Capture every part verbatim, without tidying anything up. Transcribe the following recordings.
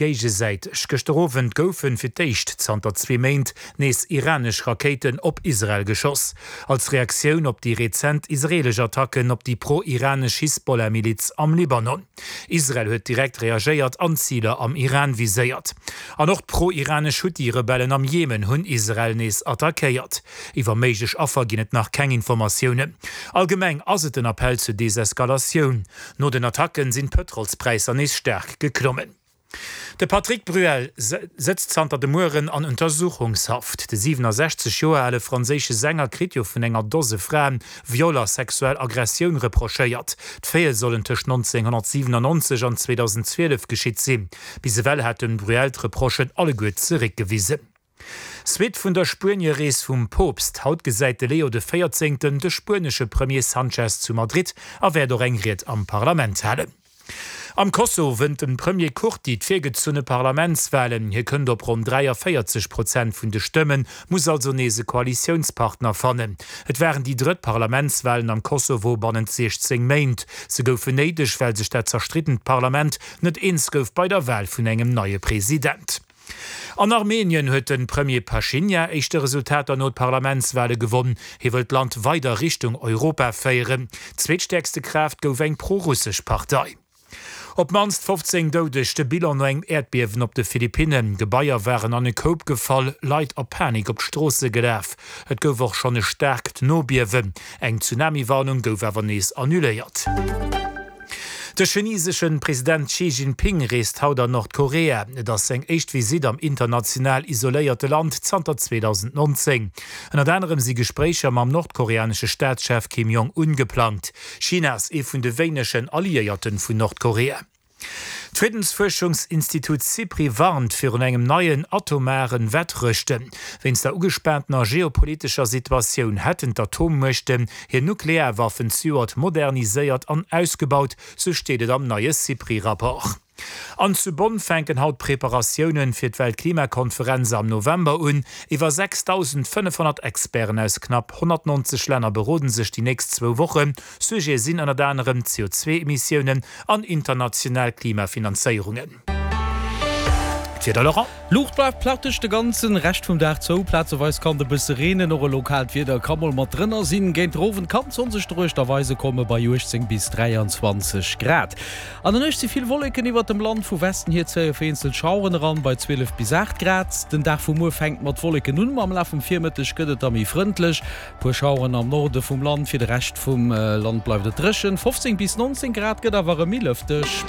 Géigesäiteg. Gëschter Owend goufen fir d'éischt zanter zwee Méint nees iranesch Rakéiten op Israel geschoss, als Reaktioun op déi rezent israeelesch Attacken op déi pro-iranesch Hisbollah-Miliz am Libanon. Israel huet direkt reagéiert an Ziler am Iran viséiert. An och d'pro-iranesch Huthi-Rebellen am Jemen hunn Israel nees attackéiert. Iwwer méiglech Affer ginn et nach keng Informatiounen. Allgemeng ass et en Appell zur Deseskalatioun. No den Attacken sinn d'Pëtrolspräisser nees staark geklommen. De Patrick Bruel sëtzt zanter de Mueren an Untersuchungshaft. De siwenasechzeg Joer ale franséische Sänger kritt jo vun enger Dose Fraen Viol a sexuell Aggressioun reprochéiert. D'Faite sollen tëscht nonzénghonnertsiwenannonzeg an zweedausendzwielef geschitt sinn. Bis ewell hat de Bruel d'Reprochen alleguer zeréckgewisen. Suite vun der Spuenie-Rees vum Poopst, Haut gesäit de Leo de Véierzéngten de spuenesche Premier Sanchez zu Madrid a wäert och eng Ried am Parlament halen. Am Kosovo wënnt de Premier Kurti d'virgezunne Parlamentswalen. Hie kënnt op ronn dräiavéierzeg Prozent vun de Stëmmen, muss also nees e Koalitiounspartner fannen. Et waren déi drëtt Parlamentswalen am Kosovo bannent siechzéng Méint. Se goufen néideg, well sech dat zerstriddent Parlament net eens gouf bei der Wal vun engem neie President. An Armenien huet de Premier Pashinyan éischte Resultater no d'Parlamentswale gewonn. Hie wëll d'Land weider Richtung Europa féieren. Zweetstäerkste Kraaft gouf eng pro-russesch Partei. Op d'mannst fofzéng Doudeg, de Bilan no engem Äerdbiewen op de Philippinnen. Gebaier waren an e Koup gefall, Leit a Panik op d'Stroosse gelaf. Et gouf och schonn e staarkt Nobiewen. Eng Tsunami-Warnung gouf awer nees annuléiert. De chinesesche President Xi Jinping reest haut an Nordkorea. Et ass seng éischt Visitt am international isoléierte Land zanter zweedausendnonzéng. Ënnert anerem si Gespréicher mam nordkoreanesche Staatschef Kim Jong-un geplangt. China ass ee vun de wéinegen Alliéierte vun Nordkorea. D'Friddensfuerschungsinstitut SIPRI warnt virun engem neien atomaren Wettrëschten. Wéinst der ugespaantener geopolitescher Situatioun hätten d'Atommuechten hir Nuklearwaffen zejoert moderniséiert an ausgebaut, sou steet et am neie SIPRI-Rapport. An zu Bonn fänken haut d'Preparatiounen fir d'Weltklimakonferenz am November un. Iwwer sechsdausendfënnefhonnert Experten aus knapp honnertnonzeg Länner beroden sech déi nächst zwou Wochen. Sujete sinn ënnert anerem C O zwei Emissiounen an international Klimafinanzéierungen. D'Wieder, Laurent. Luucht bleift praktesch de ganzen Rescht vum Dag zou. Plazeweis kann et e bësse reenen, och e lokaalt Wieder ka mol mat drënner sinn. Géint den Owend kann d'Sonn sech doruechter weise komme bei uechtzéng bis dräianzwanzeg Grad. An der Nuecht si vill Wolleken iwwert dem Land, vu Westen hier zéie vereenzelt Schaueren eran bei zwielef bis aacht Grad. Den Dag vu muer fänkt mat Wolleken un, ma am Laf vum Virmëtteg gëtt et da méi frëndlech. Puer Schaueren am Norde vum Land, fir de Rescht vum Land bleift et dréchen. fofzéng bis nonzéng Grad, gëtt awer erëm méi lëfteg.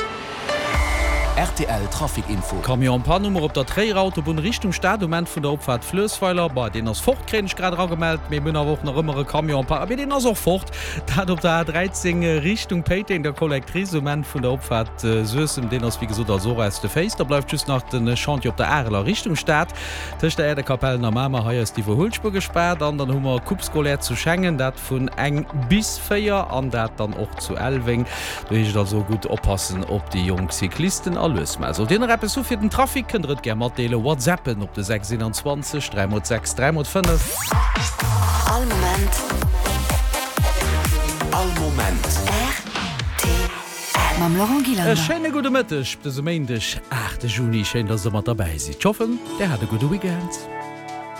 R T L Trafic Info. Camion en panne hu mer op der Tréierer Autobunn Richtung Stad um Enn vun der Opfaart Fluessweiler. Bah, deen ass fort, kréien ech grad eragemellt. Mee mir hunn awer och nach ëmmer e Camion en panne, mee deen ass och fort. Dat op der A dräizéng Richtung Péiteng, der Collectrice um Enn vun der Opfaart Suessem. Deen ass wéi gesot also och aus de Féiss. Da bleift just nach de Chantier op der Areler Richtung Stad tëscht der Äerdekapellen a Mamer. Hei ass d'Iwwerhuelspuer gespaart. An dann hu mer Coupe scolaire zu Schengen, dat vun eng bis véier an dat dann och zu Elweng. Do heescht et also gutt oppassen op déi jonk Cyclisten a lues maachen. Sollt Dir nach eppes hu fir den Trafic, kënnt Der et gär matdeelen. WhatsAppen op de sechs eenanzwanzeg dräi mol sechs dräi mol fënnef. All Moment. All Moment. R T L. Mam Laurent Gillander. E schéine gudde Mëtteg op dësem Méindeg, aachte Juni. Schéin, dass Der mat derbäi sidd. Ech hoffen, Dir hat e gudde Weekend.